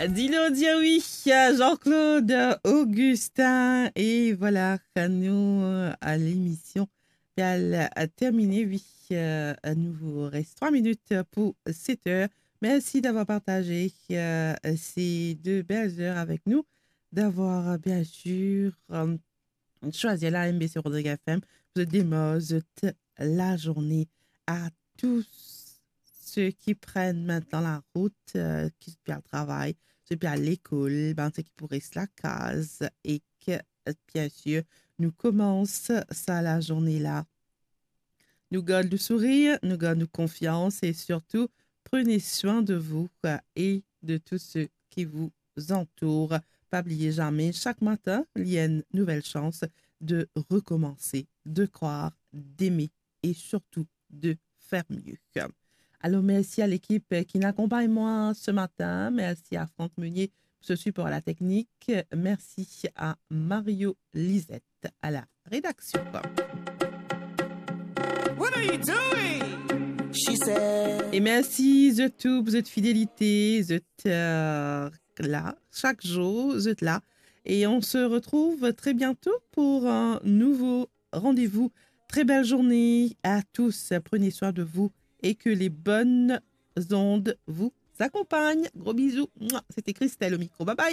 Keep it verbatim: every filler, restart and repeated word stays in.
Dilo dir wi, Jean-Claude Augustin. E vwala, nou, euh, lemision pe al, euh, termine, wi, euh, nou res trwa minit pou set er. Mersi d'avoir partaze, euh, se de bel er avek nou, d'avoir, euh, bien sir, euh, swazir la M B C Rodrigues F M, pou zot demar zot lazourne. A tou seki pran mintnan larout, euh, ki zot pe al travay, zot pe al lekol, bann seki pou res lakaz, e ki, euh, bien sir, nou koumans sa lazourne la. Nou gard nou sourir, nou gard nou konfians e sirtou, prenez soin de vous, euh, et de tous ceux qui vous entourent. Pa bliye zame, sak matin, li enn nouvel sans de recommencer, de croire, d'aimer et surtout de faire mieux. Alor, mersi a lekip ki inn akonpagn mwa se matin. Mersi a Franck Meunier pou so sipor a la teknik. Mersi a Mario Lisette a la redaksion. What are you doing? She said. E mersi zot tou pou zot fidelite, zot, euh, la, sak zour, zot la. Et on se retrouve très bientôt pour un nouveau rendez-vous. Très belle journée à tous. Prenez soin de vous et que les bonnes ondes vous accompagnent. Gros bisous. Mouah. C'était Christelle au micro. Bye bye.